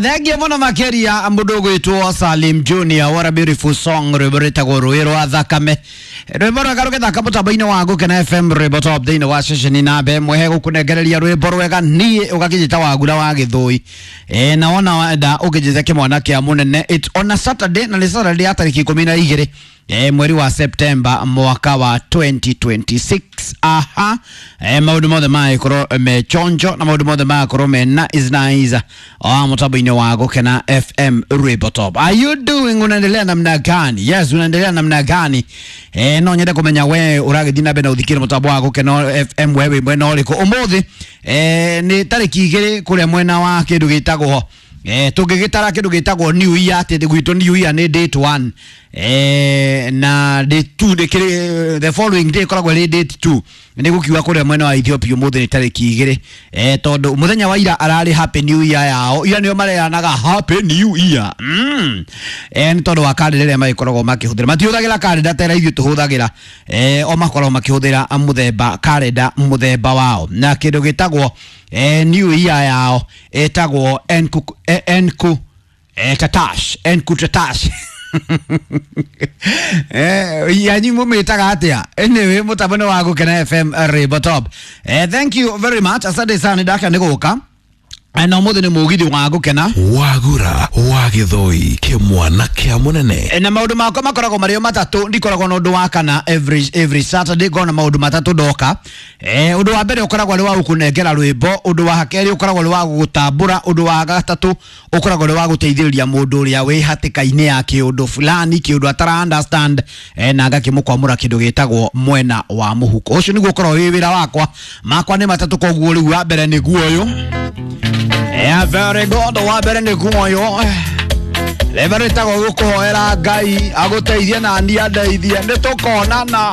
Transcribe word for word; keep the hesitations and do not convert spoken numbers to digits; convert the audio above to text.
Thengia muno makiria mundu ugwitwo Salim Junior, what a beautiful song, rwimbo rwitagwo Rũĩ rwa Thakame, rwimbo rwega rũgĩthaka mũtambo-inĩ wa Gũkena F M, rwimbo top thĩinĩ wa ceceni namba ĩmwe hegũkũnengereria rwimbo rwega niĩ ũgakĩnjĩta Wagura wa Gĩthũi. E, na wona wenda ũkĩnjĩta kĩmwana kĩa mũnene. It's on a Saturday, na nĩ Saturday ya tarĩki ikũmi na igĩrĩ e, mweri wa September mwaka wa twenty twenty-six. Aha, e, maũndũ mothe magĩkorwo me chonjo na maũndũ mothe magakorwo me nice nice o mũtambo-inĩ wa Gũkena F M rwimbo top. Are you doing, unaendelea namna gani? Yes, unaendelea namna gani? E, no nyende kũmenya we ũragĩthiĩ na mbere na ũthikĩre mũtambo wa Gũkena F M we wĩ mwena ũrĩkũ ũmũthĩ. E, nĩ tarĩki igĩrĩ kũrĩa mwena wa kĩndũ gĩtagwo eh tũngĩgĩtara kĩndũ gĩtagwo New Year, atĩ gwitũ New Year nĩ date one, eh na date two nĩ kĩrĩ the following day ĩkoragwo ĩrĩ date two. Nĩ gũkiuga kũrĩa mwena wa Ethiopia ũmũthĩ nĩ tarĩki igĩrĩ, eh tondũ mũthenya wa ira ararĩ Happy New Year yao, ira nĩo mareanaga Happy New Year. mm. eh nĩ tondũ wa karenda ĩrĩa magĩkoragwo makĩhũthĩra, matihũthagĩra karenda ta ĩrĩa ithuĩ tũhũthagĩra, eh o makoragwo makĩhũthĩra mũthemba karenda mũthemba wao, na kĩndũ gĩtagwo eh New Year yao ĩtagwo Enku Enku eh Tatash Enku Tatash. Eh yanyi mumĩtaga atĩa? Anyway, mũtambo nĩ wa Gũkena F M rwimbo top. Eh thank you very much, asante sana ndaka nĩ gũka. Na ũmũthĩ nĩ mũgithi wa Gũkena Wagura wa Gĩthũi kĩmwana kĩa mũnene. Na maũndũ makwa makoragwo marĩ o matatũ, ndikoragwo na ũndũ wa kana every, every Saturday ngona maũndũ matatũ ndoka. Eh ũndũ wa mbere ũkoragwo arĩ wa gũkũnengera rwĩmbo, ũndũ wa kerĩ ũkoragwo arĩ wa gũgũtambũra, ũndũ wa gatatũ ũkoragwo arĩ wa gũteithĩrĩria mũndũ ũrĩa wĩ hatĩka-inĩ ya kĩũndũ fulani, kĩũndũ atara understand, eh na agakĩmũkwamũra kĩndũ gĩtagwo mwena wa mũhuko. Ũcio nĩguo ũkoragwo wĩ wĩra wakwa. Makwa nĩ matatũ, koguo rĩu wa mbere nĩguo ũyũ. Yeah, very good. Wa mbere nĩguo ũyũ. Rĩmwe rĩtagwo gũkũhoera Ngai agũteithie na niĩ andeithie, nĩ tũkonana.